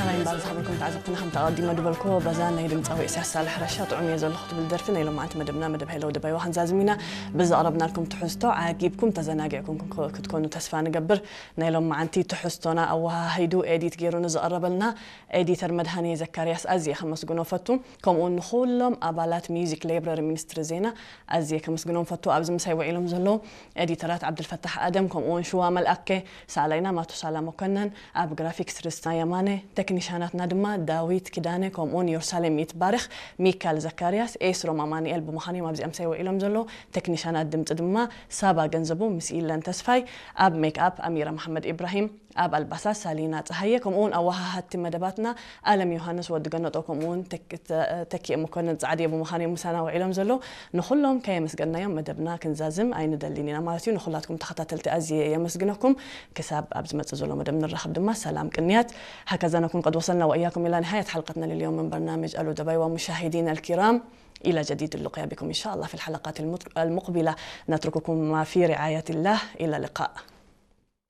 ራይ እምበር ዝኸበርኩም ተዓዘብትና፣ ከምቲ ኣቐዲመ ዝበልኩዎ፣ በዛ ናይ ድምፃዊ ኢሳያስ ሳልሕ ረሻ ጥዑም እየ ዘለኹ ትብል ደርፊ ናይ ሎማዓንቲ መደብና፣ መደብ ሃይለ ወዲ ባይዋ ክንዛዝም ኢና። ብዘቕረብናልኩም ትሕዝቶ ዓጊብኩም ተዘናጊዕኩም ክንኮ-፣ ክትኮኑ ተስፋ ንገብር። ናይ ሎማዓንቲ ትሕዝቶና ኣወሃሂዱ ኤዲት ገይሩ ንዘቐረበልና ኤዲተር መድሃኔ ዘካርያስ ኣዝየ ከመስግኖ ፈቱ። ከምኡ እውን ንኹሎም ኣባላት ሚውዚክ ላይብረሪ ሚኒስትሪ ዜና ኣዝየ ከመስግኖም ፈቱ። ኣብዚ ምሳይ ውዒሎም ዘለዉ ኤዲተራት ዓብድልፈታሕ ኣደም፣ ከምኡ እውን ሽዋ መልኣከ፣ ሳላይና ማቱሳላ መኮነን፣ ኣብ ግራፊክስ ርስታ የማነ፣ ቴክኒሻናትና ድማ ዳዊት ኪዳነ፣ ከምኡ እውን የሩሳሌም ይትባረኽ፣ ሚካል ዘካርያስ፣ ኤስሮም ኣማኑኤል ብምዃን እዮም ኣብዚኣ ምሳይ ውዒሎም ዘለዉ። ቴክኒሻናት ድምፂ ድማ ሳባ ገንዘቡ ምስ ኢለን ተስፋይ፣ ኣብ ሜክኣፕ ኣሚራ መሓመድ ኢብራሂም፣ ኣብ ኣልባሳት ሳሊና ጸሃየ፣ ከምኡ እውን ኣወሃሃድቲ መደባትና ኣለም ዮሃንስ፣ ወዲ ገነጦ፣ ከምኡ እውን ተክ-፣ ተ-፣ ተኪኤ መኮንን ጻዕድየ ብምዃን እዮም ምሳና ውዒሎም ዘለዉ። ንኹሎም ከየመስገንናዮም መደብና ክንዛዝም ኣይንደልን ኢና ማለት እዩ። ንኹላትኩም ተኸታተልቲ ኣዝየ የመስግነኩም። ክሳብ ኣብ ዝመጽእ ዘሎ መደብ ንራኸብ ድማ ሰላም ቅንያት። هكذا نكون قد وصلنا وإياكم إلى نهاية حلقتنا لليوم من برنامج ألو دبي. ومشاهدينا الكرام، إلى جديد اللقيا بكم إن شاء الله في الحلقات المت-، المقبلة. نترككم في رعاية الله. إلى اللقاء.